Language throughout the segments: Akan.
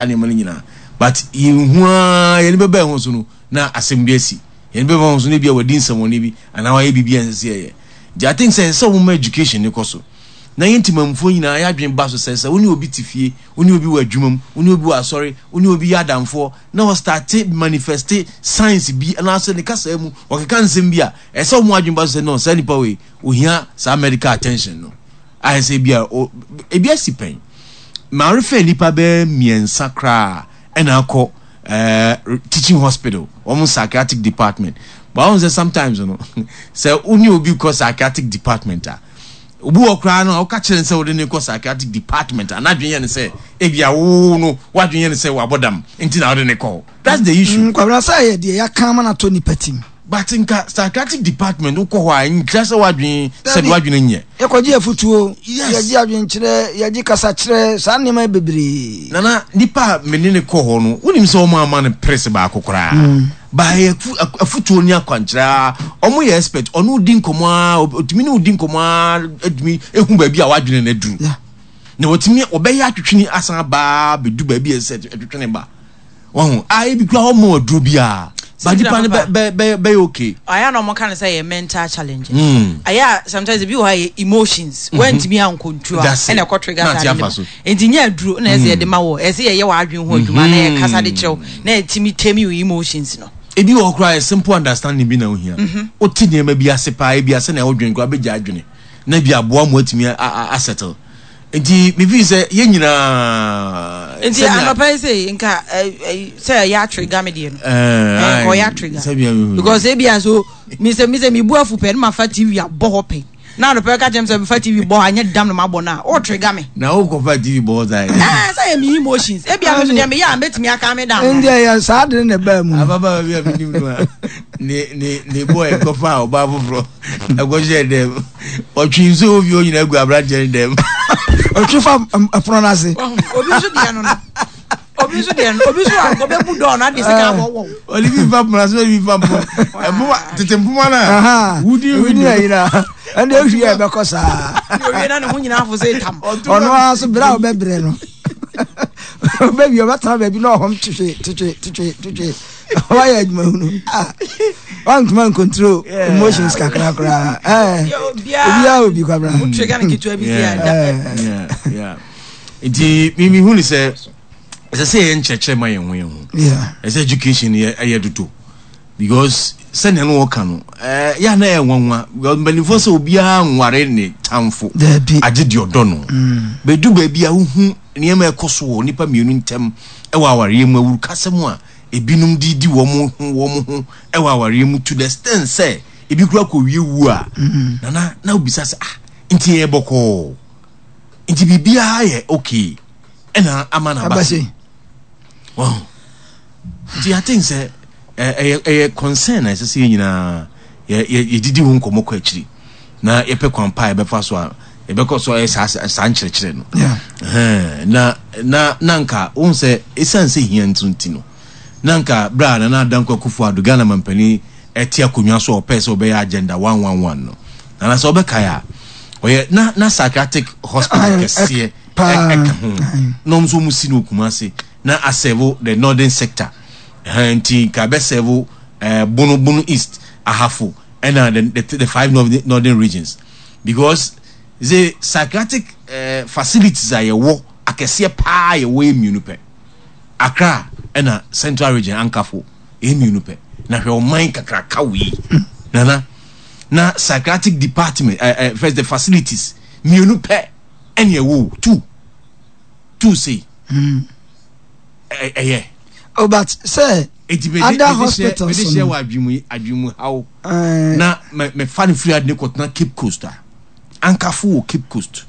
Nneɛma no nyinaa but yɛnhu ara yɛn ani bɛba yɛn ho so no na asɛm bi asi. Yɛn ani bɛba yɛn ho so no ebia wadi nsɛmmɔne bi anaa wayɛ biribi a ɛnsɛ sɛ yɛyɛ. Nti I think sɛ ɛsɛ sɛ wɔma education no kɔ so na yɛn temammufoɔ nyinaa yɛn adwene ba so sɛ sɛ wo ne obi te fie, wo ne obi wɔ adwuma mu, wo ne obi wɔ asɔre, wo ne obi yɛ adamfoɔ na ɔstarte manifeste signs bi anaasɛ ne kasaa mu ɔkeka nsɛm bi a, ɛsɛ sɛ wɔn adwene ba so sɛ no saa nipa wei ohia saa medical attention no. Ayɛ sɛ ebia ebi asi pɛn. Marefɛ nnipa bɛyɛ mmiɛnsa koraa ɛna akɔ ɛɛ teaching hospital wɔn psychiatric department. But wɔn sɛ sometimes no sɛ wo ne obi kɔ psychiatric department a obi wɔ koraa no a woka kyerɛ no sɛ wode ne kɔ psychiatric department a n'adwene yɛ no sɛ ebia wo no w'adwene yɛ no sɛ wabɔ dam nti na wode ne kɔ hɔ. That's the issue. Mm, Kwabena sɛ yɛ deɛ yɛaka ama no atɔ nipa tim. But nka psychiatric department wokɔ hɔ a nkyerɛ sɛ w'adwene sɛbi w'adwene nyɛ. Yɛkɔgye afutuo, yɛgye adwenkyerɛ, yɛgye kasakyerɛ, saa nneɛma bebree. Nana, nipa a me ne no kɔ hɔ no, wonim sɛ wɔn amma no press baako koraa. Mm. Ba yɛ afutuo ne akwankyerɛ a, wɔn yɛ expert, ɔno di nkɔmɔ a, otumi ne odi nkɔmɔ a, etumi ehu baabi a w'adwene no aduru. Na wɔtumi wɔbɛyɛ atwetwene asan aba bɛdu baabi a ɛsɛ ɛtwetwene ba. Wahu? Ah, ebi kura hɔ mo aduro biara. Ba nipa no bɛ bɛ bɛ bɛyɛ okay. Ayɛ na wɔn ka no sɛ yɛ mental challenge. Mm. Ayɛ a sometimes ebi wɔ hɔ yɛ emotions. Mm -hmm. Wɔntumi ankontrol a ɛna ɛkɔ trigger saa ne ba. Nti nyɛ aduro na ɛsɛ yɛde ma wɔ. Ɛsɛ yɛyɛ wɔ adwene ho adwuma na yɛ kasa de kyerɛw na yɛtumi tame your emotions no. Ebi wɔ hɔ koraa yɛ simple understanding bi na ohia. Wote nneɛma bi ase paa ebi ase na ɛwɔ koraa bɛgya adwene na ebi aboa mo atumi a settle. Nti me feel sɛ yɛn nyinaa. Nti anɔpa yi sɛ nka sɛ ɛyɛ atrigger me deɛ no. Ɛɛ ɔyɛ atrigger. Because ebi a so mi sɛ mi sɛ mi bu afu pɛ ne ma fa TV abɔ hɔ pɛ. Na anɔpa yi ka kyerɛ mi sɛ mi fa TV bɔ hɔ anyɛ dam na ma bɔ na o trigger me. Na o kɔ fa TV bɔ hɔ saa yɛ. Ɛɛ sɛ yɛ mi emotions ebi a mi so deɛ mi yɛ a mɛtumi aka mi da. Nti ɛyɛ saa de ne baa mu. Ababaawa bi a mi nim no a ne ne ne boy kɔfa ɔbaa foforɔ. Ɛkɔhyɛɛ dɛm. Ɔtwe nsuo wɔ fie hɔ nyinaa gu aberanteɛ no dɛm. Ɔtwe fa ɛpono no ase. Obi nso deɛ no no. Obi nso deɛ no. Obi nso a ɔbɛbu dɔɔ no ade sika abɔ wɔw. Ɔde bi fa pono ase, ɔde bi fa mpoma. Mpoma tete mpoma no a. Wudi wudi na yina. Ɛnde ehwie a ɛbɛkɔ saa. Owie na ne ho nyinaa afo sɛ tam. Ɔno ara so bere a ɔbɛbrɛ no. Ɔbɛwie ɔbɛtena baabi na ɔhɔm twetwe twetwe twetwe twetwe. Wayɛ adwuma hunu. Ah, wantuma ncontrol emotions kakra koraa. Eh, obiara obi kwabra. Nti mimi hu ni sɛ ɛsɛ sɛ yɛyɛ nkyerɛkyerɛ ma yɛn ho yɛn ho. Ɛsɛ education yɛ ɛyɛ dodo because sɛnea no wɔka no ɛɛ yɛ ana ɛyɛ nwanwa because mpanimfoɔ sɛ obiara nware ne tamfo agye deɛ ɔdɔ no. Bɛdu baabi a wohu nneɛma ɛkɔ so wɔ nnipa mmienu ntam ɛwɔ awareɛ mu awurukasɛm a ebinom de di wɔn ho wɔn ho wɔ awareɛ mu to the extent sɛ ebi kura kɔwie wu a mm-hmm. nana na obisa sɛ ah nti yɛ bɔkɔɔ nti biribiara yɛ okay ɛna ama na aba se wɔn nti I think sɛ ɛyɛ ɛyɛ concern na ɛsɛ sɛ yɛn nyinaa yɛ yɛ yɛdidi ho nkɔmɔ kɔ akyiri na yɛpɛ kwan pa a yɛbɛfa so a yɛbɛkɔ so ayɛ saa saa nkyerɛkyerɛ no na na na nka wohu sɛ ɛsiane sɛ hia nti nti no na nka berɛ a Nana Dankwa Akufo-Addo Ghana mampanin ɛte akonnwa so a ɔpɛɛ sɛ ɔbɛyɛ agenda 111 no nana sɛ ɔbɛkae a ɔyɛ na na psychiatric hospital kɛseɛ ɛka ho na ɔmo nso ɔmo si no Kumasi na asɛvo the northern sector nti nka bɛsɛvo Bono Bono East Ahafo ɛna the, the, the five northern, northern regions because the psychiatric facilities a yɛwɔ akɛseɛ paa yɛwɔ yɛ mmienu pɛ Accra ɛna central region ankafo ɛyɛ mmienu pɛ na hwɛ ɔman kakraka wei nana na psychiatric department first the facilities mmienu pɛ ɛne ɛwɔ two two sei ɛyɛ. Oh, but sɛ other hospitals no. Mede hyɛ wɔ adwemu adwemu haw. Na mɛfa no firi ade ne kɔtena Cape Coast a ankafo wɔ Cape Coast.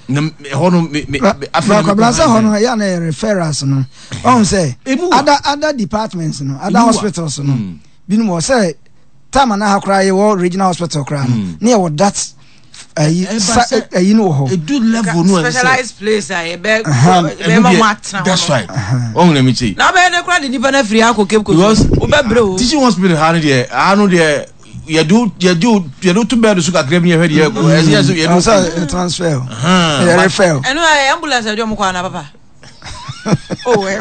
Na ɛhɔ no me me afei na mekɔ sɛ hɔ no ɛyɛ na yɛ referrals no. Ɔn sɛ other other departments no other hospitals no mm. binom wɔ sɛ time na ha koraa yɛwɔ regional hospital koraa no mm. ne yɛwɔ that ayi sa ayi no wɔ hɔ. Edu level no ɛsɛ. Specialized place a yɛbɛ yɛbɛ ma mo atena hɔ. That's right. Wɔn na mi kye. Na ɔbɛyɛ ne kura de nipa na firi akɔ Cape Coast. Because wobɛ brɛ o. Teaching hospital ha no deɛ ha no deɛ yɛde yɛde yɛde to bɛɛdo so kakra bi yɛhwɛ deɛ ɛkɔ ɛsɛ yɛ yɛde. Ɔsɛ transfer o. Yɛ refer o. Ɛnu ambulance ɛdi ɔmo kɔ ana papa. Oh, ɛkɔ.